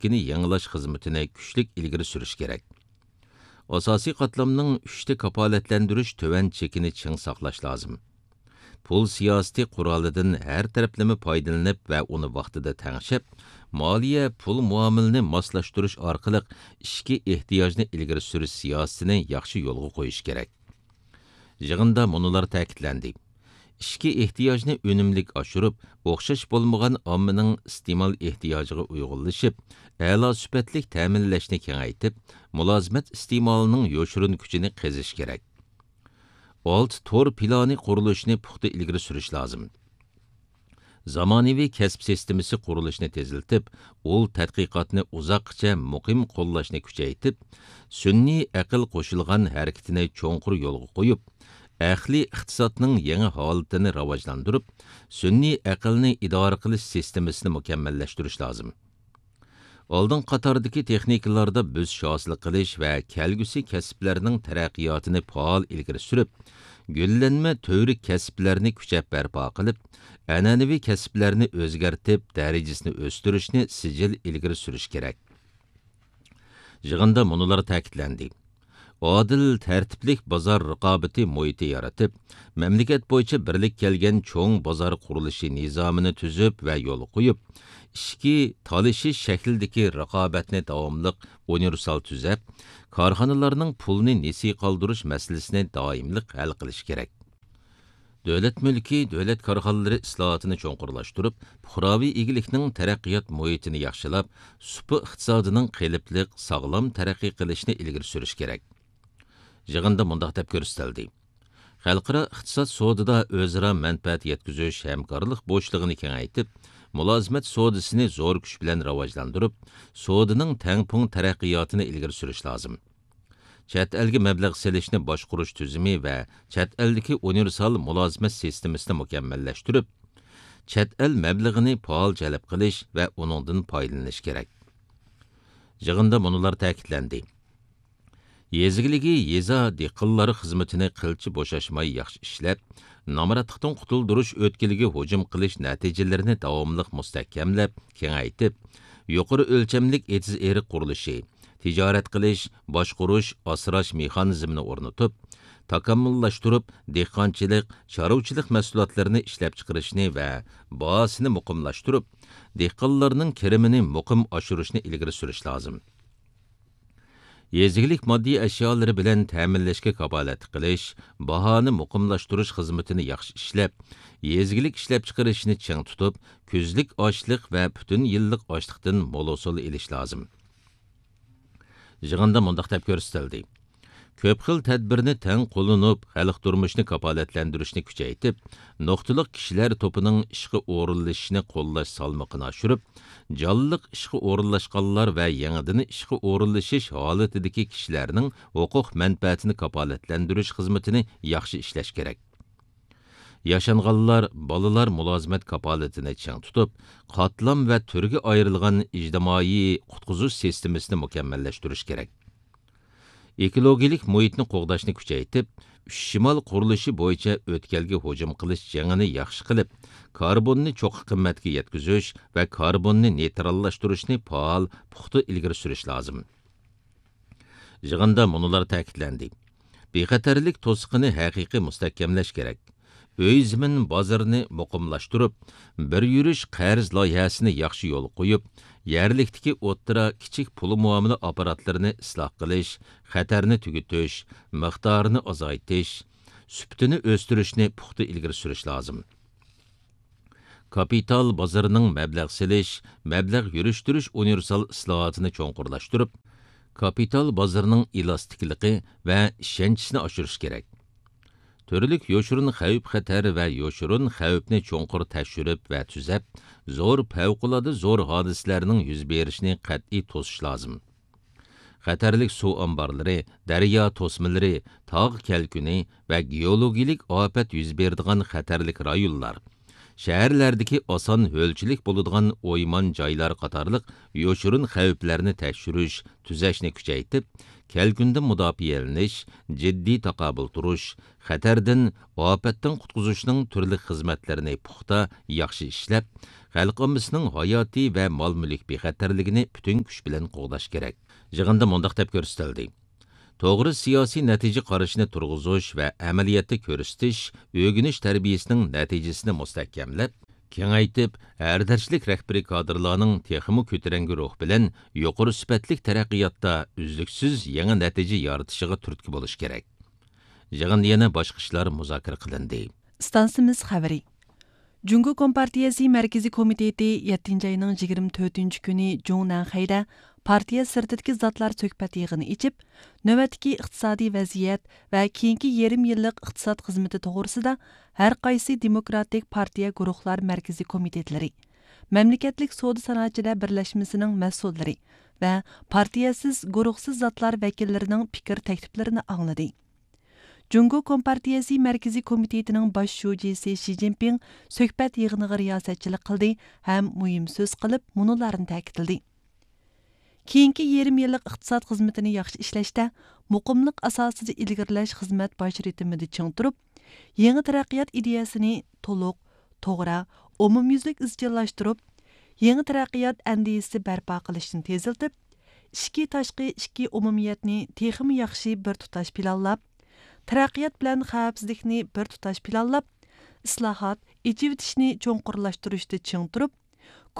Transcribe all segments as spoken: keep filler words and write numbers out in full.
ئىككىنى يېڭىلاش خىزمىتىنى كۈچلۈك ئىلگىرى سۈرۈش كېرەك. ئاساسىي قاتلامنىڭ ئۈچتە كاپالەتلەندۈرۈش تۆۋەن چېكىنى چىڭ ساقلاش لازىم. پۇل سىياسىتى قورالىدىن ھەر تەرەپلىمە پايدىلىنىپ ۋە ئۇنى ۋاقتىدا تەڭشەپ، مالىيە، پۇل مۇئامىلىنى ماسلاشتۇرۇش ئارقىلىق ئىچكى ئېھتىياجنى ئىلگىرى سۈرۈش سىياسىتىنى ياخشى يولغا قويۇش كېرەك. يىغىندا مۇنۇلار تەكىتلەندى: ئىچكى ئېھتىياجنى ئۈنۈملۈك ئاشۇرۇپ، ئوخشاش بولمىغان ئاممىنىڭ ئىستېمال ئېھتىياجىغا ئۇيغۇنلىشىپ، ئەلا سۈپەتلىك تەمىنلەشنى كېڭەيتىپ، مۇلازىمەت ئىستېمالىنىڭ يوشۇرۇن كۈچىنى قېزىش كېرەك. ئالتە تور پىلانى قۇرۇلۇشىنى پۇختا ئىلگىرى سۈرۈش لازىم. زامانىۋى كەسىپ سىستېمىسى قۇرۇلۇشىنى تېزلىتىپ، ئۇل تەتقىقاتنى ئۇزاققىچە مۇقىم قوللاشنى كۈچەيتىپ، سۈنئىي ئەقىل قوشۇلغان ھەرىكىتىنى چوڭقۇر يولغا قويۇپ، ئەقلىي ئىقتىسادنىڭ يېڭى ھالىتىنى راۋاجلاندۇرۇپ، سۈنئىي ئەقىلنى ئىدارە قىلىش سىستېمىسىنى مۇكەممەللەشتۈرۈش لازىم. ئالدىنقى قاتاردىكى تېخنىكىلاردا بۆسۈش ھاسىل قىلىش ۋە كەلگۈسى كەسىپلەرنىڭ تەرەققىياتىنى پائال ئىلگىرى سۈرۈپ، گۈللەنمە تۈۋرۈك كەسىپلەرنى كۈچەپ بەرپا قىلىپ، ئەنئەنىۋى كەسىپلەرنى ئۆزگەرتىپ، دەرىجىسىنى ئۆستۈرۈشنى سىجىل ئىلگىرى سۈرۈش كېرەك. يىغىندا مۇنۇلار تەكىتلەندى: ئادىل، تەرتىپلىك بازار رىقابىتى مۇھىتى يارىتىپ، مەملىكەت بويىچە بىرلىككە كەلگەن چوڭ بازار قۇرۇلۇشى نىزامىنى تۈزۈپ ۋە يولغا قويۇپ، ئىچكى تالىشىش شەكلىدىكى رىقابەتنى داۋاملىق ئۇنىۋېرسال تۈزەپ، كارخانىلارنىڭ پۇلنى نېسى قالدۇرۇش مەسىلىسىنى دائىملىق ھەل قىلىش كېرەك. دۆلەت مۈلكى، دۆلەت كارخانىلىرى ئىسلاھاتىنى چوڭقۇرلاشتۇرۇپ، پۇقراۋى ئىگىلىكنىڭ تەرەققىيات مۇھىتىنى ياخشىلاپ، سۇپا ئىقتىسادىنىڭ قېلىپلىق، ساغلام تەرەققىي قىلىشىنى ئىلگىرى سۈرۈش كېرەك. يىغىندا مۇنداق دەپ كۆرسىتىلدى: خەلقئارا ئىقتىساد سودىدا ئۆزئارا مەنپەئەت يەتكۈزۈش ھەمكارلىق بوشلۇقىنى كېڭەيتىپ، مۇلازىمەت سودىسىنى زور كۈچ بىلەن راۋاجلاندۇرۇپ، سودىنىڭ تەڭپۇڭ تەرەققىياتىنى ئىلگىرى سۈرۈش لازىم. چەت ئەلگە مەبلەغ سېلىشنى باشقۇرۇش تۈزۈمى ۋە چەت ئەلدىكى ئۇنىۋېرسال مۇلازىمەت سىستېمىسىنى مۇكەممەللەشتۈرۈپ، چەت ئەل مەبلىغىنى پائال جەلپ قىلىش ۋە ئۇنىڭدىن پايدىلىنىش كېرەك. يىغىندا مۇنۇلار تەكىتلەندى: يېزا ئىگىلىكى، يېزا دېھقانلار خىزمىتىنى قىلچە بوشاشماي ياخشى ئىشلەپ، نامراتلىقتىن قۇتۇلدۇرۇش ئۆتكىلىگە ھۇجۇم قىلىش نەتىجىلىرىنى داۋاملىق مۇستەھكەملەپ، كېڭەيتىپ، يۇقىرى ئۆلچەملىك ئېتىز-ئېرىق قۇرۇلۇشى، تىجارەت قىلىش، باشقۇرۇش، ئاسراش مېخانىزمىنى ئورنىتىپ، تاكامۇللاشتۇرۇپ، دېھقانچىلىق، چارۋىچىلىق مەھسۇلاتلىرىنى ئىشلەپچىقىرىشنى ۋە باھاسىنى مۇقىملاشتۇرۇپ، دېھقانلارنىڭ كىرىمىنى مۇقىم ئاشۇرۇشنى ئىلگىرى سۈرۈش لازىم. يېزا ئىگىلىك ماددىي ئەشيالىرى بىلەن تەمىنلەشكە كاپالەتلىك قىلىش، باھانى مۇقىملاشتۇرۇش خىزمىتىنى ياخشى ئىشلەپ، يېزا ئىگىلىك ئىشلەپچىقىرىشىنى چىڭ تۇتۇپ، كۈزلۈك ئاشلىق ۋە پۈتۈن يىللىق ئاشلىقتىن مول ھوسۇل ئېلىش لازىم. يىغىندا مۇنداق دەپ كۆرسىتىلدى: كۆپ خىل تەدبىرنى تەڭ قوللىنىپ، خەلق تۇرمۇشىنى كاپالەتلەندۈرۈشنى كۈچەيتىپ، نۇقتىلىق كىشىلەر توپىنىڭ ئىشقا ئورۇنلىشىشىنى قوللاش سالمىقىنى ئاشۇرۇپ، جانلىق ئىشقا ئورۇنلاشقانلار ۋە يېڭىدىن ئىشقا ئورۇنلىشىش ھالىتىدىكى كىشىلەرنىڭ ھوقۇق مەنپەئەتىنى كاپالەتلەندۈرۈش خىزمىتىنى ياخشى ئىشلەش كېرەك. ياشانغانلار، بالىلار مۇلازىمەت كاپالىتىنى چىڭ تۇتۇپ، قاتلام ۋە تۈرگە ئايرىلغان ئىجتىمائىي قۇتقۇزۇش سىستېمىسىنى مۇكەممەللەشتۈرۈش كېرەك. ئېكولوگىيەلىك مۇھىتنى قوغداشنى كۈچەيتىپ، ئۈچ شىمال قۇرۇلۇشى بويىچە ئۆتكەلگە ھۇجۇم قىلىش جېڭىنى ياخشى قىلىپ، كاربوننى چوققا قىممەتكە يەتكۈزۈش ۋە كاربوننى نېيتراللاشتۇرۇشنى پائال، پۇختا ئىلگىرى سۈرۈش لازىم. يىغىندا مۇنۇلار تەكىتلەندى: بىخەتەرلىك توسۇقىنى ھەقىقىي مۇستەھكەملەش كېرەك. ئۆي زېمىن بازىرىنى مۇقىملاشتۇرۇپ، بىر يۈرۈش قەرز لايىھەسىنى ياخشى يولغا قويۇپ، يەرلىكتىكى ئوتتۇرا، كىچىك پۇل مۇئامىلە ئاپپاراتلىرىنى ئىسلاھ قىلىش، خەتەرنى تۈگىتىش، مىقدارىنى ئازايتىش، سۈپىتىنى ئۆستۈرۈشنى پۇختا ئىلگىرى سۈرۈش لازىم. كاپىتال بازىرىنىڭ مەبلەغ سېلىش، مەبلەغ يۈرۈشتۈرۈش ئۇنىۋېرسال ئىسلاھاتىنى چوڭقۇرلاشتۇرۇپ، كاپىتال بازىرىنىڭ ئېلاستىكلىقى ۋە ئىشەنچىسىنى ئاشۇرۇش كېرەك. تۈرلۈك يوشۇرۇن خەۋپ-خەتەر ۋە يوشۇرۇن خەۋپنى چوڭقۇر تەكشۈرۈپ ۋە تۈزەپ، زور، پەۋقۇلئاددە زور ھادىسىلەرنىڭ يۈز بېرىشىنى قەتئىي توسۇش لازىم. خەتەرلىك سۇ ئامبارلىرى، دەريا توسمىلىرى، تاغ كەلكۈنى ۋە گېئولوگىيەلىك ئاپەت يۈز بېرىدىغان خەتەرلىك رايونلار، شەھەرلەردىكى ئاسان ھۆلچىلىك بولىدىغان ئويمان جايلار قاتارلىق يوشۇرۇن خەۋپلەرنى تەكشۈرۈش، تۈزەشنى كۈچەيتىپ، كەلكۈندىن مۇداپىئەلىنىش، جىددىي تاقابىل تۇرۇش، خەتەردىن، ئاپەتتىن قۇتقۇزۇشنىڭ تۈرلۈك خىزمەتلىرىنى پۇختا، ياخشى ئىشلەپ، خەلق ئاممىسىنىڭ ھاياتىي ۋە مال-مۈلۈك بىخەتەرلىكىنى پۈتۈن كۈچ بىلەن قوغداش كېرەك. يىغىندا مۇنداق دەپ كۆرسىتىلدى: توغرا سىياسىي نەتىجە قارىشىنى تۇرغۇزۇش ۋە ئەمەلىيەتتە كۆرسىتىش ئۆگىنىش تەربىيىسىنىڭ نەتىجىسىنى مۇستەھكەملەپ، كېڭەيتىپ، ھەر دەرىجىلىك رەھبىرىي كادىرلارنىڭ تېخىمۇ كۆتۈرەڭگۈ روھ بىلەن يۇقىرى سۈپەتلىك تەرەققىياتتا ئۈزلۈكسىز يېڭى نەتىجە يارىتىشىغا تۈرتكە بولۇش كېرەك. يىغىندا يەنە باشقا ئىشلار مۇزاكىرە قىلىندى. ئىستانسىمىز خەۋىرى. جۇڭگو كومپارتىيەسى مەركىزىي كومىتېتى يەتتىنچى ئاينىڭ يىگىرمە تۆتىنچى كۈنى جۇڭنەنخەيدە پارتىيە سىرتىدىكى زاتلار سۆھبەت يىغىنى ئېچىپ، نۆۋەتتىكى ئىقتىسادىي ۋەزىيەت ۋە كېيىنكى يېرىم يىللىق ئىقتىساد خىزمىتى توغرىسىدا ھەر قايسى دېموكراتىك پارتىيە گۇرۇھلار مەركىزىي كومىتېتلىرى، مەملىكەتلىك سودا سانائەتچىلەر بىرلەشمىسىنىڭ مەسئۇللىرى ۋە پارتىيەسىز گۇرۇھسىز زاتلار ۋەكىللىرىنىڭ پىكىر تەكلىپلىرىنى ئاڭلىدى. جۇڭگو كومپارتىيەسى مەركىزىي كومىتېتىنىڭ باش شۇجىسى شى جىنپىڭ سۆھبەت يىغىنىغا رىياسەتچىلىك قىلدى ھەم مۇھىم سۆز قىلىپ، مۇنۇلارنى تەكىتلىدى: كېيىنكى يېرىم يىللىق ئىقتىساد خىزمىتىنى ياخشى ئىشلەشتە، مۇقىملىق ئاساسىدا ئىلگىرىلەش خىزمەت باش رىتىمىدا چىڭ تۇرۇپ، يېڭى تەرەققىيات ئىدىيەسىنى تولۇق، توغرا، ئومۇميۈزلۈك ئىزچىللاشتۇرۇپ، يېڭى تەرەققىيات ئەندىزىسى بەرپا قىلىشنى تېزلىتىپ، ئىچكى تاشقى ئىككى ئومۇمىيەتنى تېخىمۇ ياخشى بىر تۇتاش پىلانلاپ، تەرەققىيات بىلەن خەۋپسىزلىكنى بىر تۇتاش پىلانلاپ، ئىسلاھات، ئېچىۋېتىشنى چوڭقۇرلاشتۇرۇشتا چىڭ تۇرۇپ،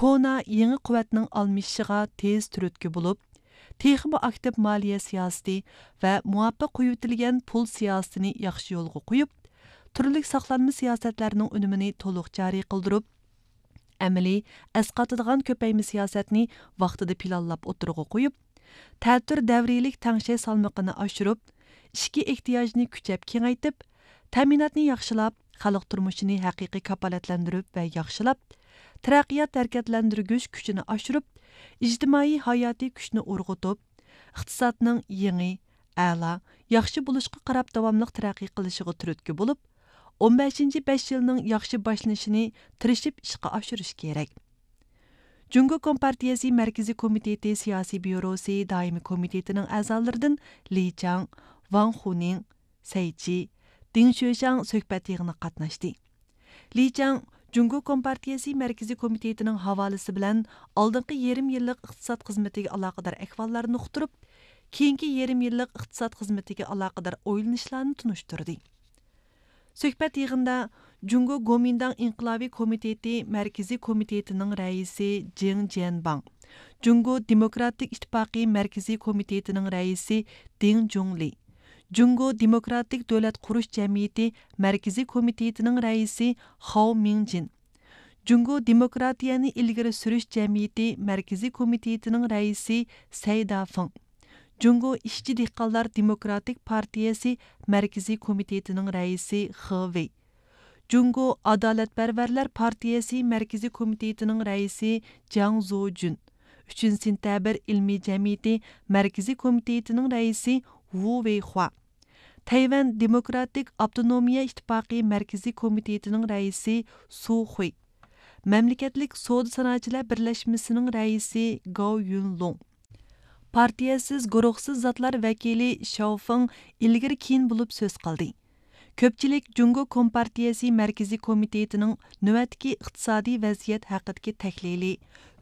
كونا يېڭى قۇۋۋەتنىڭ ئالمىشىشىغا تېز تۈرتكە بولۇپ، تېخىمۇ ئاكتىپ مالىيە سىياسىتى ۋە مۇۋاپىق قويۇۋېتىلگەن پۇل سىياسىتىنى ياخشى يولغا قويۇپ، تۈرلۈك ساقلانما سىياسەتلەرنىڭ ئۈنۈمىنى تولۇق جارى قىلدۇرۇپ، ئەمەلىي ئەسقاتىدىغان كۆپەيمە سىياسەتنى ۋاقتىدا پىلانلاپ ئوتتۇرىغا قويۇپ، تەتۈر دەۋرىيلىك تەڭشەش سالمىقىنى ئاشۇرۇپ، ئىچكى ئېھتىياجنى كۈچەپ كېڭەيتىپ، تەمىناتنى ياخشىلاپ، خەلق تۇرمۇشىنى ھەقىقىي كاپالەتلەندۈرۈپ ۋە ياخشىلاپ، تەرەققىيات ھەرىكەتلەندۈرگۈچ كۈچىنى ئاشۇرۇپ، ئىجتىمائىي ھاياتىي كۈچنى ئۇرغۇتۇپ، ئىقتىسادنىڭ يېڭى، ئەلا، ياخشى بولۇشقا قاراپ داۋاملىق تەرەققىي قىلىشىغا تۈرتكە بولۇپ، ئون بەشىنچى بەش يىلنىڭ ياخشى باشلىنىشىنى تىرىشىپ ئىشقا ئاشۇرۇش كېرەك. جۇڭگو كومپارتىيەسى مەركىزىي كومىتېتى سىياسىي بيۇروسى دائىمىي كومىتېتىنىڭ ئەزالىرىدىن لى چاڭ، ۋاڭ خۇنىڭ، سەي چى، دىڭ شۆشياڭ سۆھبەت يىغىنىغا قاتناشتى. لى چاڭ جۇڭگو كومپارتىيەسى مەركىزىي كومىتېتىنىڭ ھاۋالىسى بىلەن ئالدىنقى يېرىم يىللىق ئىقتىساد خىزمىتىگە ئالاقىدار ئەھۋاللارنى ئۇقتۇرۇپ، كېيىنكى يېرىم يىللىق ئىقتىساد خىزمىتىگە ئالاقىدار ئويلىنىشلارنى تونۇشتۇردى. سۆھبەت يىغىنىدا جۇڭگو گومىنداڭ ئىنقىلابىي كومىتېتى مەركىزىي كومىتېتىنىڭ رەئىسى جېڭ جيەنباڭ، جۇڭگو دېموكراتىك ئىتتىپاقى مەركىزىي كومىتېتىنىڭ رەئىسى دىڭ جۇڭلى، جۇڭگو دېموكراتىك دۆلەت قۇرۇش جەمئىيىتى مەركىزىي كومىتېتىنىڭ رەئىسى خاۋ مىڭجىن، جۇڭگو دېموكراتىيەنى ئىلگىرى سۈرۈش جەمئىيىتى مەركىزىي كومىتېتىنىڭ رەئىسى سەي دافېڭ، جۇڭگو ئىشچى دېھقانلار دېموكراتىك پارتىيەسى مەركىزىي كومىتېتىنىڭ رەئىسى خې ۋېي، جۇڭگو ئادالەتپەرۋەرلەر پارتىيەسى مەركىزىي كومىتېتىنىڭ رەئىسى جياڭ زۇجۈن، ئۈچىنچى سېنتەبىر ئىلمىي جەمئىيىتى مەركىزىي كومىتېتىنىڭ رەئىسى ۋۇ ۋېيخۇا، تەيۋەن دېموكراتىك ئاپتونومىيە ئىتتىپاقى مەركىزىي كومىتېتىنىڭ رەئىسى سۇ خۇي، مەملىكەتلىك سودا سانائەتچىلەر بىرلەشمىسىنىڭ رەئىسى گاۋ يۈنلۇڭ، پارتىيەسىز، گۇرۇھسىز زاتلار ۋەكىلى شياۋفېڭ ئىلگىرى كېيىن بولۇپ سۆز قىلدى. كۆپچىلىك جۇڭگو كومپارتىيەسى مەركىزىي كومىتېتىنىڭ نۆۋەتتىكى ئىقتىسادىي ۋەزىيەت ھەققىدىكى تەھلىلى،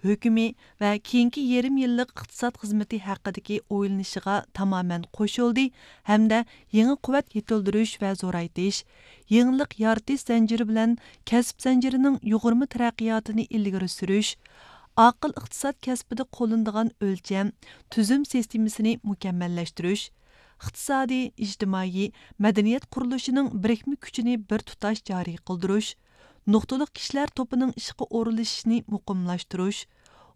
ھۆكمى ۋە كېيىنكى يېرىم يىللىق ئىقتىساد خىزمىتى ھەققىدىكى ئويلىنىشىغا تامامەن قوشۇلدى ھەمدە يېڭى قۇۋۋەت يېتىلدۈرۈش ۋە زورايتىش، يېڭىلىق يارىتىش زەنجىرى بىلەن كەسىپ زەنجىرىنىڭ يۇغۇرما تەرەققىياتىنى ئىلگىرى سۈرۈش، ئاقىل ئىقتىساد كەسپىدە قوللىنىدىغان ئۆلچەم، تۈزۈم سىستېمىسىنى مۇكەممەللەشتۈرۈش، ئىقتىسادىي، ئىجتىمائىي، مەدەنىيەت قۇرۇلۇشىنىڭ بىرىكمە كۈچىنى بىر تۇتاش جارى قىلدۇرۇش، نۇقتىلىق كىشىلەر توپىنىڭ ئىشقا ئورۇنلىشىشىنى مۇقىملاشتۇرۇش،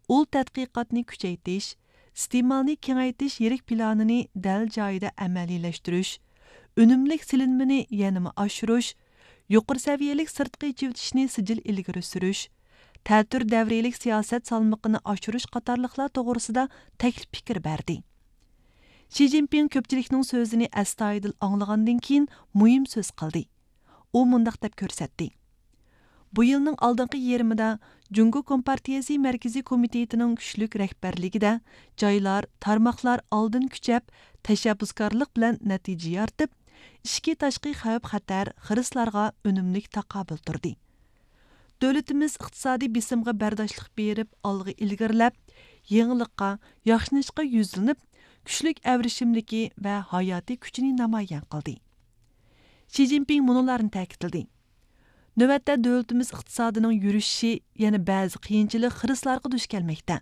ئۇل تەتقىقاتنى كۈچەيتىش، ئىستېمالنى كېڭەيتىش يىرىك پىلانىنى دەل جايىدا ئەمەلىيلەشتۈرۈش، ئۈنۈملۈك سېلىنمىنى يەنىمۇ ئاشۇرۇش، يۇقىرى سەۋىيەلىك سىرتقى ئېچىۋېتىشنى سىجىل ئىلگىرى سۈرۈش، تەتۈر دەۋرىيلىك سىياسەت سالمىقىنى ئاشۇرۇش قاتارلىقلار توغرىسىدا تەكلىپ پىكىر بەردى. شى جىنپىڭ كۆپچىلىكنىڭ سۆزىنى ئەستايىدىل ئاڭلىغاندىن كېيىن مۇھىم سۆز قىلدى. ئۇ مۇنداق دەپ كۆرسەتتى: بۇ يىلنىڭ ئالدىنقى يېرىمىدا جۇڭگو كومپارتىيەسى مەركىزىي كومىتېتىنىڭ كۈچلۈك رەھبەرلىكىدە جايلار، تارماقلار ئالدىن كۈچەپ، تەشەببۇسكارلىق بىلەن نەتىجە يارىتىپ، ئىچكى تاشقى خەۋپ خەتەر، خىرىسلارغا ئۈنۈملۈك تاقابىل تۇردى. دۆلىتىمىز ئىقتىسادىي بېسىمغا بەرداشلىق بېرىپ، ئالغا ئىلگىرىلەپ، يېڭىلىققا، ياخشىلىنىشقا يۈزلىنىپ، كۈچلۈك ئەۋرىشىملىكى ۋە ھاياتىي كۈچىنى نامايان قىلدى. شى جىنپىڭ مۇنۇلارنى تەكىتلىدى: نۆۋەتتە دۆلىتىمىز ئىقتىسادىنىڭ يۈرۈشۈشى يەنە بەزى قىيىنچىلىق، خىرىسلارغا دۇچ كەلمەكتە.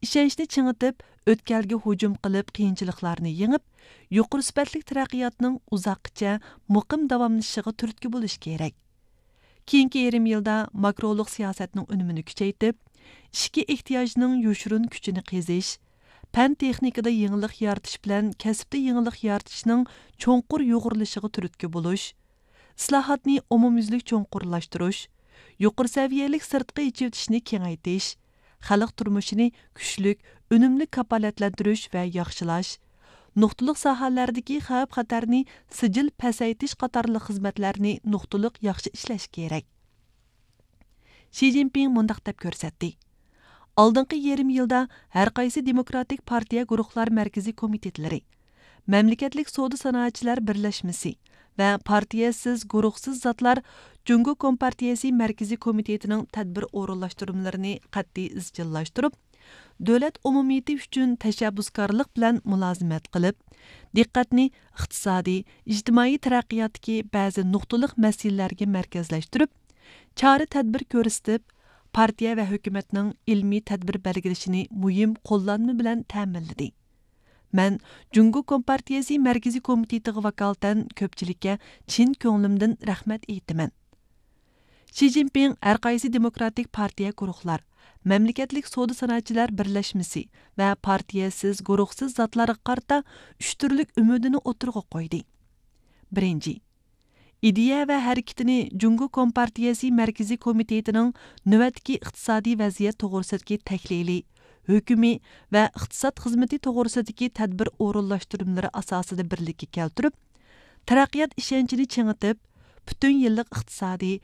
ئىشەنچنى چىڭىتىپ، ئۆتكەلگە ھۇجۇم قىلىپ، قىيىنچىلىقلارنى يېڭىپ، يۇقىرى سۈپەتلىك تەرەققىياتنىڭ ئۇزاققىچە مۇقىم داۋاملىشىشىغا تۈرتكە بولۇش كېرەك. كېيىنكى يېرىم يىلدا ماكرولۇق سىياسەتنىڭ ئۈنۈمىنى كۈچەيتىپ، ئىچكى ئېھتىياجنىڭ يوشۇرۇن كۈچىنى قېزىش، پەن تېخنىكىدا يېڭىلىق يارىتىش بىلەن كەسىپتە يېڭىلىق يارىتىشنىڭ چوڭقۇر يۇغۇرۇلۇشىغا تۈرتكە بولۇش، ئىسلاھاتنى ئومۇميۈزلۈك چوڭقۇرلاشتۇرۇش، يۇقىرى سەۋىيەلىك سىرتقى ئېچىۋېتىشنى كېڭەيتىش، خەلق تۇرمۇشىنى كۈچلۈك، ئۈنۈملۈك كاپالەتلەندۈرۈش ۋە ياخشىلاش، نۇقتىلىق ساھەلەردىكى خەۋپ خەتەرنى سىجىل پەسەيتىش قاتارلىق خىزمەتلەرنى نۇقتىلىق ياخشى ئىشلەش كېرەك. شى جىنپىڭ مۇنداق دەپ كۆرسەتتى: ئالدىنقى يېرىم يىلدا ھەرقايسى دېموكراتىك پارتىيە گۇرۇھلار مەركىزىي كومىتېتلىرى، مەملىكەتلىك سودا سانائەتچىلەر بىرلەشمىسى ۋە پارتىيەسىز، گۇرۇھسىز زاتلار جۇڭگو كومپارتىيەسى مەركىزىي كومىتېتىنىڭ تەدبىر ئورۇنلاشتۇرمىلىرىنى قەتئىي ئىزچىللاشتۇرۇپ، دۆلەت ئومۇمىيىتى ئۈچۈن تەشەببۇسكارلىق بىلەن مۇلازىمەت قىلىپ، دىققەتنى ئىقتىسادىي، ئىجتىمائىي تەرەققىياتتىكى بەزى نۇقتىلىق مەسىلىلەرگە مەركەزلەشتۈرۈپ، چارە-تەدبىر كۆرسىتىپ، پارتىيە ۋە ھۆكۈمەتنىڭ ئىلمىي تەدبىر بەلگىلىشىنى مۇھىم قوللانما بىلەن تەمىنلىدى. مەن جۇڭگو كومپارتىيەسى مەركىزىي كومىتېتىغا ۋاكالىتەن كۆپچىلىككە چىن كۆڭلۈمدىن رەھمەت ئېيتىمەن. شى جىنپىڭ ھەرقايسى دېموكراتىك پارتىيە گۇرۇھلار، مەملىكەتلىك سودا سانائەتچىلەر بىرلەشمىسى ۋە پارتىيەسىز، گۇرۇھسىز زاتلارغا قارىتا ئۈچ تۈرلۈك ئۈمىدىنى ئوتتۇرىغا قويدى. بىرىنچى، ئىدىيە ۋە ھەرىكىتىنى جۇڭگو كومپارتىيەسى مەركىزىي كومىتېتىنىڭ نۆۋەتتىكى ئىقتىسادىي ۋەزىيەت توغرىسىدىكى تەھلىلى، ھۆكۈمى ۋە ئىقتىساد خىزمىتى توغرىسىدىكى تەدبىر ئورۇنلاشتۇرمىلىرى ئاساسىدا بىرلىككە كەلتۈرۈپ، تەرەققىيات ئىشەنچىنى چىڭىتىپ، پۈتۈن يىللىق ئىقتىسادىي،